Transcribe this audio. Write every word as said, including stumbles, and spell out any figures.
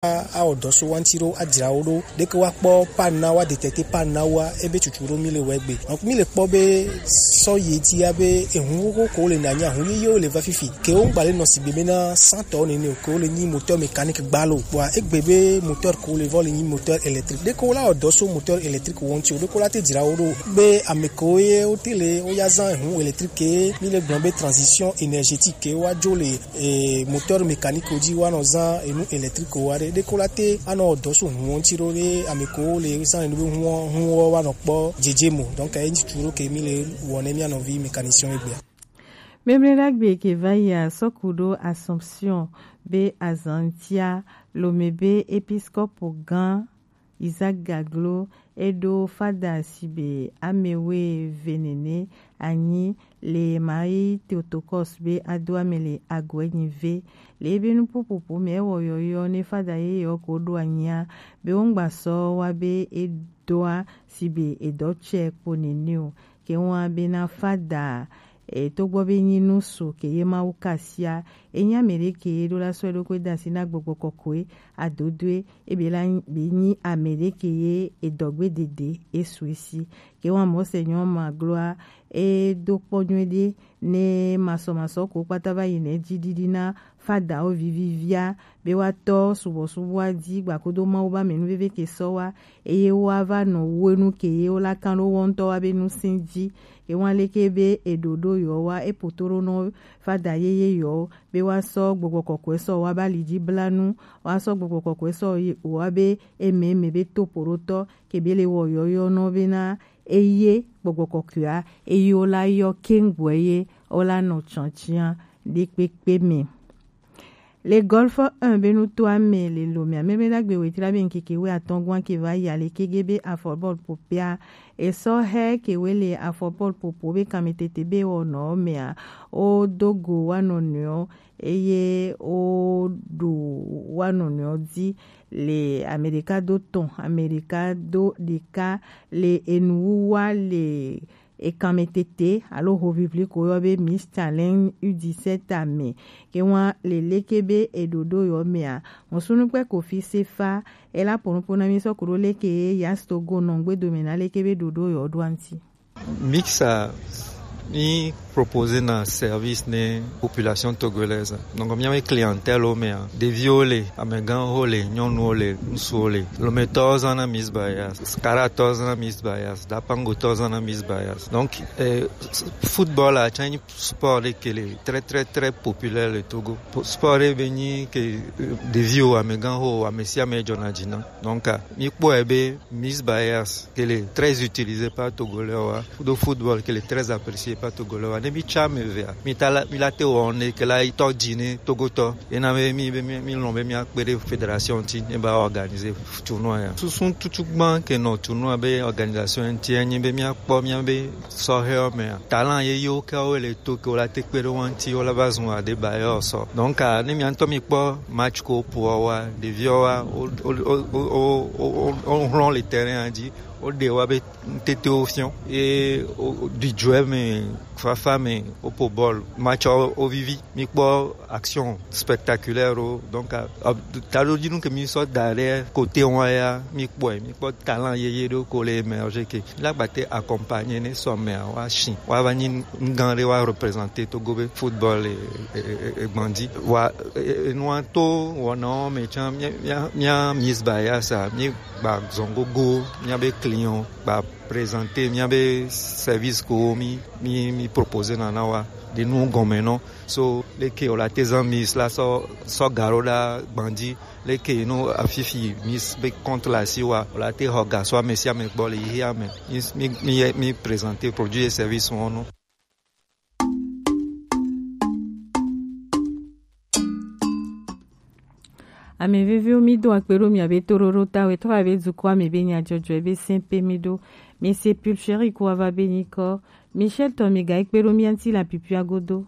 awɔ dɔ so wanti ɖo adzra wo ɖo ɖeke wa kpɔ pan na wa detɛte pan na wa ebe tutu ɖo mi le wɛ gbe. Donc mi le kpɔ be sɔ yi ti ya be ehun xoxo ko le na nya hun yeye wo le va fifi ke wo ŋgba le nɔ sigbe be na santɔ nene o ke wo le nyi moteur mécanique gba lo kpɔa egbe be moteur ko le vɔ le nyi moteur électrique ɖeke wo la wɔ dɔ so moteur électrique wɔnti o ɖeke wo la te dzra wo ɖo be ame ko ye wo te le wo ya zan ehun électrique ke mi le gblɔ be transition énergétique ke wa dzo le e, moteur mécanique wo dzi woanɔ zã enu électrique wo aɖe ɖeko la te anɔ dɔ so huɔ ŋuti ɖo ɖe ame ko le zã enu be huɔ huɔ woanɔ kpɔ dzedze mo. Donc eyi ŋuti ɖo ke mi le wɔ ne mia nɔvi mécanicien egbea. Memle ɖagbe ke va yi asɔku ɖo Assomption be azantia lome be episkopo gã Isaac Gaglo e ɖo fada sigbe amewuieve nene anyi le Marie Theotokos be ado ame le agu enyi ve. Le ebe nuƒoƒoƒo me ewɔ yɔyɔ ne fada yeyewo ko ɖo anyia be woŋgba sɔ wa be edoa sigbe edɔ tsɛ kpo nene o. Ke wa bena fada e, togbɔ be nyi nu su ke ye Mawu kasia, e nyi ame ɖe ke ye ɖo la sɔ eɖokui da asi na gbɔgbɔ kɔkɔe adodoe, e be la be nyi ame ɖe ke ye edɔgbe dede e su esi. Ke wa mɔ se nyɔ ma gloa e do kpɔ nyuie ɖe ne masɔmasɔ ko kpata va yi ne dzi ɖiɖi na fadawo vivivia be woatɔ subɔsubɔa dzi gbakodo Mawu be amenuveve ke sɔ wa eye woava nɔ wu enu ke ye wola kan ɖo wo ŋutɔ wa be nusin dzi. Ye wa leke be eɖoɖo yewo wa epoto ɖo nɔ fada yeye yewo be woasɔ gbɔgbɔ kɔkɔe sɔ wa be ali dzi bla nu, woasɔ gbɔgbɔ kɔkɔe sɔ wa be eme eme be topoɖotɔ ke be le wɔ yɔyɔ nɔ bena eye gbɔgbɔ kɔkɔea eye wola yɔ keŋgbɔe ye wola nɔ tsɔtsiã ɖekpekpe me. Le Golfe un be nutoa me le Lomé a, Memle ɖagbe wetri la be ŋkeke wuiatɔ̃ gɔ̃a ke va yi ale kege be afɔbɔlu ƒoƒea esɔ he ke we le afɔbɔlu ƒoƒo be kanmetete be wɔ nɔ mea, wo do go wa nɔnɔewo eye wo ɖu wa nɔnɔewo dzi le ame ɖeka do tɔn, ame ɖeka do ɖeka le enuwuwa le ekanmetete alo hovivli ko yɔ be Miss Challenge U dix-sept a me. Ke wa le leke be eɖoɖo yɔ mea, mɔsunu kpe Kofi Sefa ela ponupo na mi sɔ kuɖo leke ye Yas Togo nɔ ŋgbe dome na leke be ɖoɖo yɔ ɖo anti. Mixa mi proposer na service ne population togolaise. Donc miawe clientèle o mea, ɖeviwo le, amegãwo le, nyɔnuwo le, ŋutsuwo le. Lometɔwo zãna Miss Bayas, Karatɔwo zãna Miss Bayas, Dapangotɔwo zãna Miss Bayas. Donc eh, football a tsã nyi sport ɖe ke le très très très populaire le Togo. Sport ɖe be nyi ke eh, ɖeviwo, amegãwo, ame sia ame dzɔna dzi na. Donc mi kpɔe be Miss Bayas ke le très utilisé par Togolais wa, do football ke le très apprécié par Togolais wa. Ne mi tsa me vea, mi ta la mi la te wɔ ne ke la itɔ dzi ne Togotɔ. Ena be mi be mi mi lɔn be mi akpe ɖe fédération ti ne ba organiser tournoi ya. Susu tutu gban ke nɔ tournoi be organisation ŋuti enyi be mi akpɔ mi be sɔhɛwo mea, talent yeyewo ke wo le to ke wo la te kpe ɖe wo ŋuti wo la va zun aɖe ba yɔ sɔ. Donc ne mi ŋutɔ mi kpɔ match ko poa wa, ɖeviwo wa wo wo wo wo wo wo wo hlɔn le terrain dzi, wo ɖe wa be ŋtete wo fiɔ ye wo ɖi dzoe me, fafa me, wo po bɔl, match wo vivi. Mi kpɔ action spectaculaire wo. Donc taɖodinu ke mi sɔ da ɖe côté wa ya mi kpɔe, mi kpɔ talent yeye ɖo ko le émerger ke la gbate accompagner ne sɔmea wa shi wa va nyi ŋgã ɖe wa représenter Togo be football e e e gbandi wa. Enua to wɔnawo me tsã mia mia mia Miss Bayasa mi gba zɔn gogo mia be client gba présenter mia be service ko mi mi mi proposer na na wa de nu gɔme nɔ. So leke o la te zan Miss la sɔ sɔ garo la gbandi leke no afifi Miss be compte la si wa o la te xɔ gasɔ ame sia ame gbɔ le yi ame mi mi mi présenter produit et service wɔn no. Ame veviwo, mi do akpe ɖo miabe toɖoɖo ta we trɔ abe dukɔa me be nyadzɔdzɔe be sɛn pe mi ɖo. Mi se Pulchérie ko ava be nyikɔ. Michel tɔ mi ga ekpe ɖo mia ŋuti le apipia godo.